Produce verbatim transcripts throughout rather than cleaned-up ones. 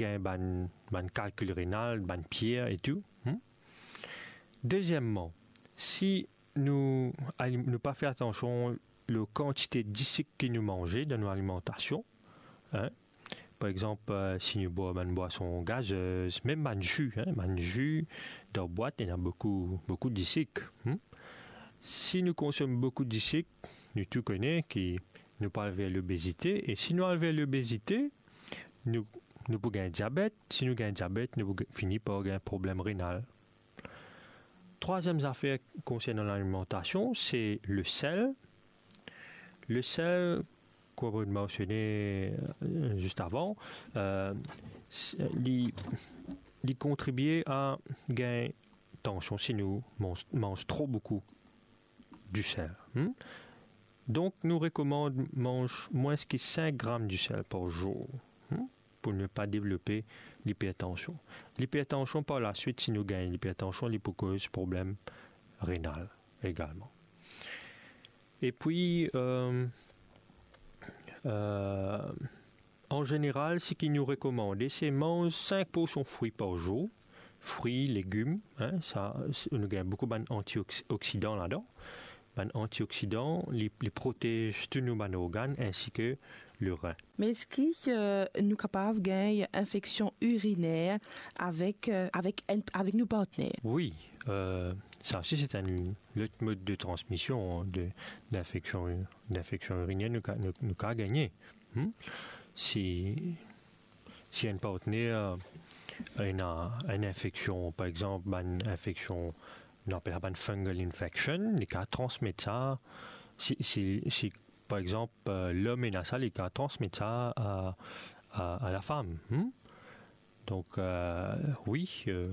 gagn bann, bann kalkil renal, bann pier e tou. Hmm? Dezieman, si nou, nou pa fer atansion lor kantite disik ki nou manze dan nou alimantasion, hein, par exanp, eh, si nou bwar bann bwason gazez, mem bann zi, hein, bann zi dan bwat, ena boukou, boukou disik, hmm? Si nou konsom boukou disik, nou tou kone ki nou pou al ver lobezite, e si nou al ver lobezite, nou, nou pou gagn diabet. Si nou gagn diabet, nou pou g-, fini par gagn problem renal. Trwaziem zafer konsernan lalimantasion, se lesel. Lesel, kouma mo mensione, eh, zis avan, eh, s-, li, li kontribie a gagn tansion si nou manz, manz tro boukou disel, hmm? Donk, nou rekomand manz mwins ki sink gram disel par zour, hmm, pou ne pa devlope lipertansion. Lipertansion, par laswit, si nou gagn lipertansion, li pou koz problem renal egalman. Epi, eh, eh, an zeneral, seki nou rekomande, se manz sink porsion fri par zour. Fri, legim, hein, sa, se, nou gagn boukou bann antioksi-, oksidan ladan. Bann antioksidan, li, li protez tou nou bann organn, insi ke lerin. Me eski, eh, nou kapav gagn infeksion iriner avek, eh, avek enn, avek nou partner? Wi, eh, sa osi, se enn lot mod de transmision de, dinfeksion, dinfeksion iriner nou ka, nou, nou ka gagne. Hmm? Si, si enn partner, eh, ena enn infeksion, par exanp, bann infeksion, nou apel sa bann fungal infection, li ka transmet sa, si, si, si, par exanp, eh, lom ena sa, li ka transmet sa a, a, a lafam, hmm? Donk, eh, wi, eh,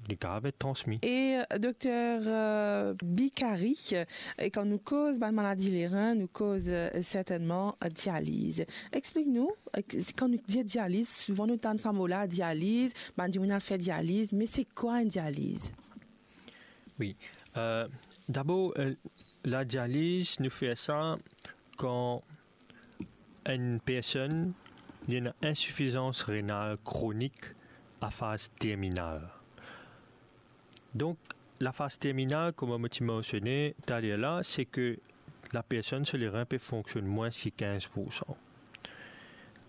li kapav et transmi. E, eh, Dokter, eh, Bikari, eh, kan nou koz bann maladi lerin, nou koz, eh, sertennman, eh, dializ. Explik nou, eh, kan nou dir dializ, souvan nou tann sa mo la, dializ, bann dimoun al fer dializ, me se kwa enn dializ? Wi. Eh, dabor, eh, ladializ, nou fer sa kan enn personn, li ena insifizans renal kronik a faz terminal. Donk, lafaz terminal, kouma mo ti mansione taler la, se ke lapersonn so lerin pe fonksionn mwins ki kinz poursan.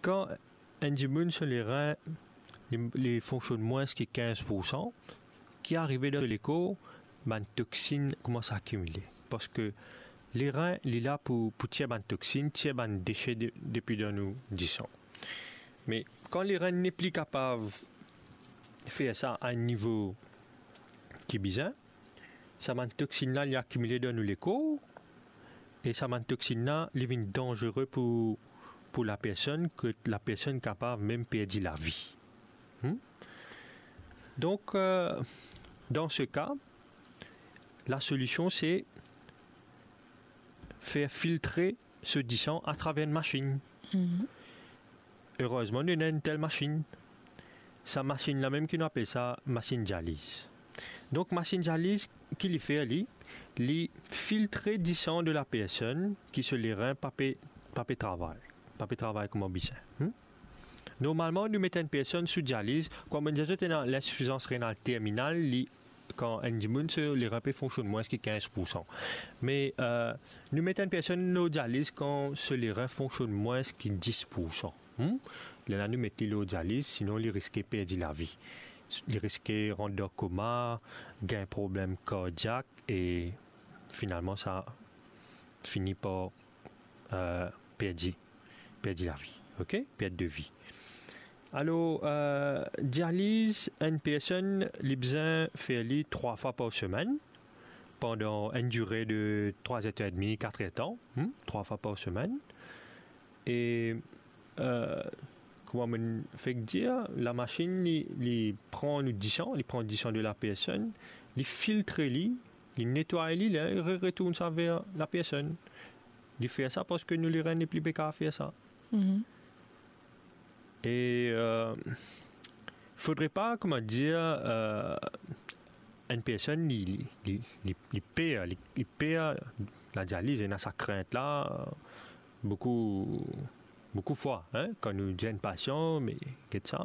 Kan enn dimoun so lerin, li, li fonksionn mwins ki kinz poursan, ki arive dan lekor, bann toksinn koumans akimile. Parski lerin, li la pou, pou tir bann toksinn, tir bann dese de, depi dan nou disan. Me kan lerin nepli kapav fer sa a enn nivo ki bizin, sa bann toksinn la, li akimile dan nou lekor, e sa bann toksinn la, li vinn danzere pou, pou lapersonn, ki lapersonn kapav mem perdi lavi. Hmm? Donk, eh, dan se ka, lasolision se fer filtre so disan atraver enn masinn. Mhm. Erezman, nou ena enn tel masinn. Sa masinn la mem ki nou apel sa masinn dializ. Donk, masinn dializ, ki li fer li? Li filtre disan de lapersonn ki so lerin pa pe, pa pe travay, pa pe travay kouma bizin. Hmm? Normalman, nou met enn personn sou dializ, kouma mo dir zot, ena linsifizans renal terminal, li, kan enn dimoun so lerin pe fonksionn mwins ki kinz poursan. Me, eh, nou met enn personn lor dializ kan so lerin fonksionn mwins ki dis poursan. Hmm? Lerla nou met li lor dializ, sinon li riske perdi lavi. Li riske rant dan koma, gagn problem kardiak e finalman sa fini par, eh, perdi, perdi lavi. Ok? Perte de vie. Alor, eh, dializ, enn personn, li bizin fer li trwa fwa par semenn, pandan enn dire de trwa er edmi, kat er tan, hmm, trwa fwa par semenn. E, eh, kouma mo fek dir, lamasinn, li, li pran nou disan, li pran disan de lapersonn, li filtre li, li netway li, li re-, retourn sa ver lapersonn. Li fer sa parski nou lerin nepli pe kapav fer sa. Mhm. E, eh, fodre pa, kouma dir, eh, enn personn, li, li, li, li, li per, li, li per ladializ, ena sa krint la, boukou, boukou fwa, hein, kan nou dir enn pasian, me get sa,